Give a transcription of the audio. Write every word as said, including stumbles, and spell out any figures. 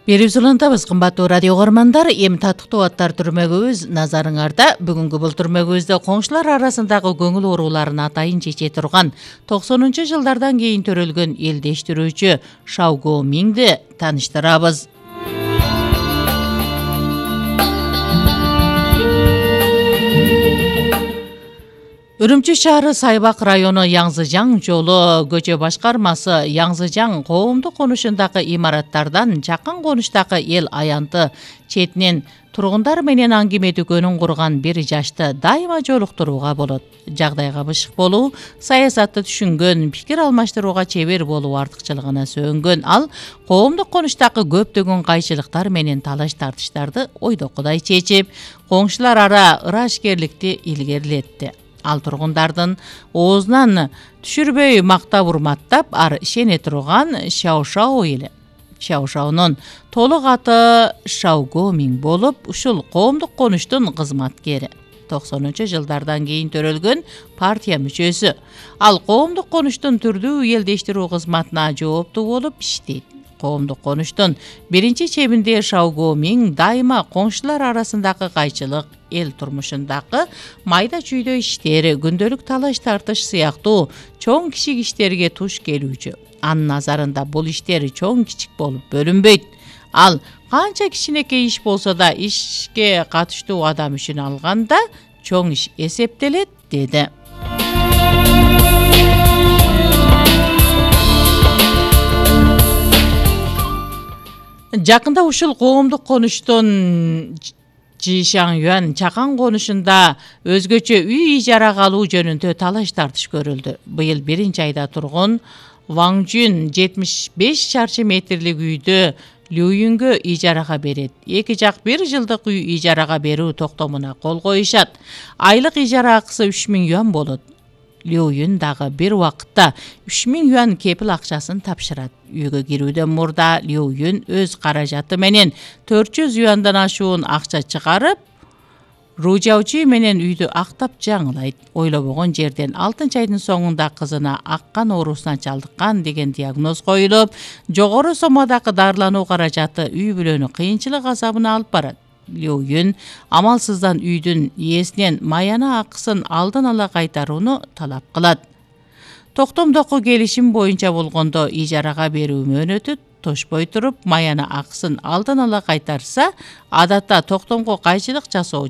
Берип улантабыз, кымбаттуу радио көрөрмандар. Эми татыктуу аттар түрмөгүбүз назарыңарда. Бүгүнкү бул түрмөгүбүздө коңшулар арасындагы көңүл ооруларын атайын чече турган токсонунчу жылдардан кийин төрөлгөн элдештирүүчү Шаого Мингди тааныштырабыз. Үрүмчү шаары Сайбак району Яңзыжаң жолу көчө башкармасы Яңзыжаң коомдук конушундагы имараттардан жакын конуштагы эл аянты четинен тургундар менен аңгеме дүкөнүн курган бир жашты дайыма жолуктурууга болот. Жагдайга бышык болуу, саясатты түшүнгөн, пикир алмаштырууга чебер болуу артыкчылыгына сөөнгөн ал коомдук конуштагы көптөгөн кайчылыктар менен талаш тартыштарды ойдокудай чечип, коңшулар ара ырашкерликти илгерилетти. Ал тургундардын оозунан түшүрбөй мактап урматтап, ар ишене турган Шаошао эли. Шаошаонун толук аты Шаого Минг болуп, ушул коомдук конуштун кызматкери. токсонунчу жылдардан кийин төрөлгөн партия мүчөсү. Ал коомдук конуштун түрдүү элдештирүү кызматына жооптуу болуп иштейт. Коомдук конуштун биринчи чебинде Шаого Минг дайыма коңшулар арасындагы кайчылык, эл турмушундагы майда чүйдө иштери, күндөлүк талаш тартыш сыяктуу чоң кичик иштерге туш келүүчү. Анын назарында бул иштери чоң кичик болуп бөлүнбөйт. Ал канча кичинекей иш болсо да ишке катыштуу адам үчүн алганда чоң иш эсептелет, деди. Жакында ушул коомдук конуштун Жишаңюан чакан конушунда өзгөчө үй ижарага алуу жөнүндө талаш тартыш көрүлдү. Быйыл биринчи айда тургун Ваңжүн жетимиш беш чарчы метрлик үйдү Лююнгө ижарага берет. Эки жак бир жылдык үй ижарага берүү токтомуна кол коюшат. Айлык ижара акысы үч миң юан болот. Лююн дагы бир убакытта үч миң юан кепил акчасын тапшырат. Үйгө кирүүдөн мурда Лююн өз каражаты менен төрт жүз юандан ашуун акча чыгарып, ружаучу менен үйдү актап жаңылайт. Ойлобогон жерден алтынчы айдын соңунда кызына аккан оорусуна чалдыккан деген диагноз коюлуп, жогору соммадагы дарылануу каражаты үй бүлөнү кыйынчылык азабына алып барат. Лююн амалсыздан үйдүн ээсинен маяна акысын алдын ала кайтарууну талап кылат. Токтомдогу келишим боюнча болгондо ижарага берүү мөөнөтү тошпой туруп, маяна акысын алдын ала кайтарса, адатта токтомго кайчылык жасоо